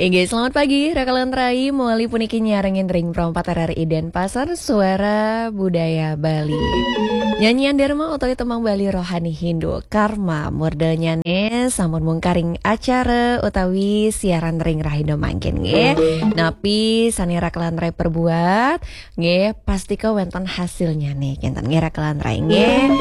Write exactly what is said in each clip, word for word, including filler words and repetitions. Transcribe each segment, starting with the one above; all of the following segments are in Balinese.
Inggih, selamat pagi, Rakalan Rai, mawali puniki nyarengin ring Pro empat R R I Denpasar, Suara Budaya Bali. Nyanyian Dharma utawi tembang Bali rohani Hindu, Karma murdanyané sampun mungkaring acara utawi siaran ring rahina mangkin nggih. Napi sané Rakalan Rai perbuat, nggih, pastika wénten hasilnyané, kénten nggih, Rakalan Rai nggih.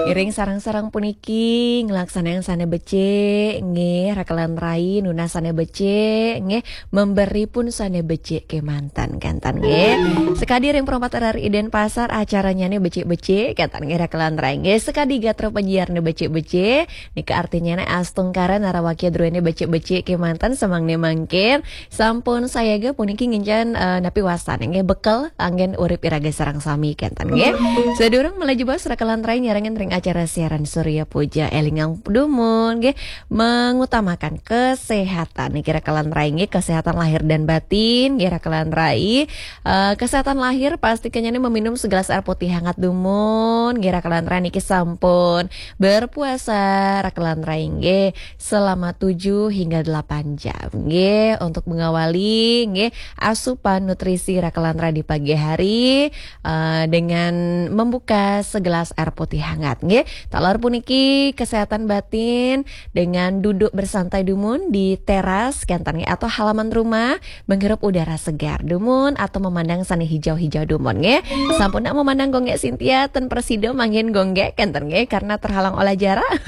Ngiring sareng-sareng puniki nglaksanayang sané becik, nggih, Rakalan Rai, nunas sané becik, nggih, memberi pun sané becik kémanten, kénten nggih. Sekadi ring Pro empat R R I Denpasar, acaranyané becik-becik, kénten nggih, Rakalan Rai nggih. Sekadi gatra penyiarné becik-becik, nika artinyané astungkara narawakya druéné becik-becik kémanten samangdané mangkin. Sampun sayaga puniki ngincén, eh, napi wastané nggih, bekel anggén urip iraga sareng sami, kénten nggih. Sadurung malih jebos, Rakalan Rai nyarengin ring acara siaran Surya Puja, élingang dumun nggih, mengutamakan kesehatan niki, Rakalan Rai nggih, kesehatan lahir dan batin nggih, Rakalan Rai. Eh, kesehatan lahir pastikannya nih meminum segelas air putih hangat dumun nggih, Rakalan Rai, niki sampun berpuasa, Rakalan Rai nggih, selama tujuh hingga delapan jam nggih, untuk mengawali nggih, asupan nutrisi Rakalan Rai di pagi hari, eh, dengan membuka segelas air putih hangat nggih. Taler puniki kesehatan batin dengan duduk bersantai dumun di teras, kénten nggih, atau halaman rumah, menghirup udara segar dumun atau memandang sané hijau-hijau dumun nggih. Sampun nak memandang Gung Gék Sintia, ten prasida mangkin Gung Gék, kénten nggih, karena terhalang oleh jarak.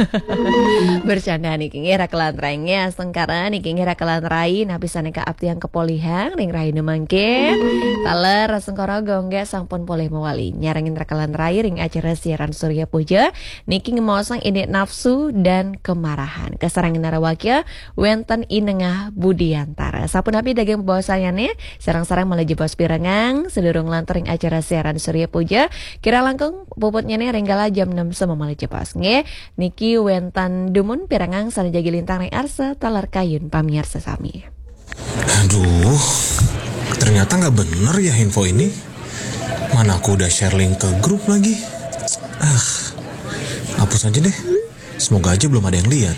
Bercanda niki nggih, Rakalan Rai nggih, astungkara niki nggih, Rakalan Rai, napi sané kaaptiang kapolihang ring rahina mangkin. Taler astungkara Gung Gék sampun polih mawali nyarengin Rakalan Rai ring acara siaran Surya Puja niki, ngemaosang indik nafsu dan kemarahan. Kasarengin narawakya wénten I Nengah Budiantara. Sapunapi daging bebaosanyané, sareng-sareng malih jebos pirengang, sadurung lantur ring acara siaran Surya Puja, kirang langkung puputnyané ring kala jam enam sema malih jebos nggih. Niki wénten dumun pirengang sané jagi lintang ring arsa taler kayun pamiarsa sami. Aduh, ternyata nggak bener ya info ini. Mana aku udah share link ke grup lagi. Ah, hapus aja deh. Semoga aja belum ada yang lihat.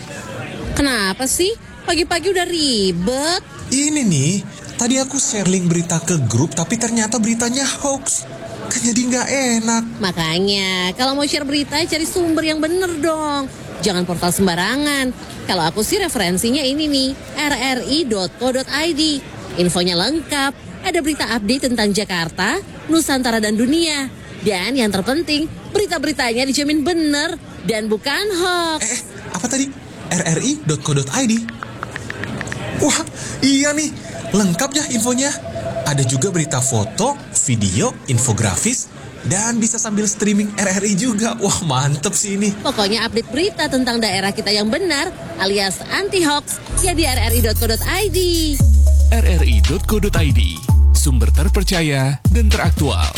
Kenapa sih? Pagi-pagi udah ribet. Ini nih, tadi aku share link berita ke grup, tapi ternyata beritanya hoax. Kan jadi nggak enak. Makanya, kalau mau share berita, cari sumber yang bener dong. Jangan portal sembarangan. Kalau aku sih, referensinya ini nih, R R I dot co dot I D. Infonya lengkap, ada berita update tentang Jakarta, Nusantara, dan dunia. Dan yang terpenting, berita-beritanya dijamin bener dan bukan hoax. Eh, eh, apa tadi? R R I dot co dot I D. Wah, iya nih, lengkap ya infonya. Ada juga berita foto, video, infografis, dan bisa sambil streaming R R I juga. Wah, mantep sih ini. Pokoknya, update berita tentang daerah kita yang benar alias anti hoax ya di R R I dot co dot I D. R R I dot co dot I D, sumber terpercaya dan teraktual.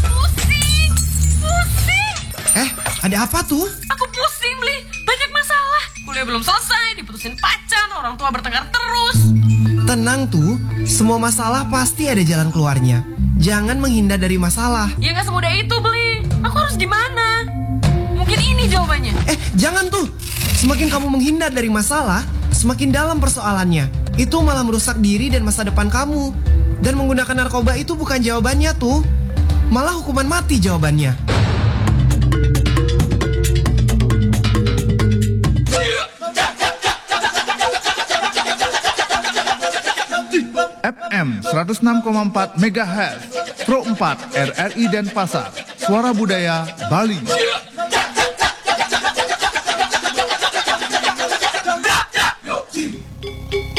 Pusing, pusing. Eh, ada apa tuh? Aku pusing, Bli. Banyak masalah. Kuliah belum selesai, diputusin pacar, orang tua bertengkar terus. Tenang tuh, semua masalah pasti ada jalan keluarnya. Jangan menghindar dari masalah. Ya, nggak semudah itu, Bli. Aku harus gimana? Mungkin ini jawabannya. Eh, jangan tuh. Semakin kamu menghindar dari masalah, semakin dalam persoalannya. Itu malah merusak diri dan masa depan kamu. Dan menggunakan narkoba itu bukan jawabannya tuh. Malah hukuman mati jawabannya. F M seratus enam koma empat megahertz, Pro empat R R I Denpasar, Suara Budaya Bali.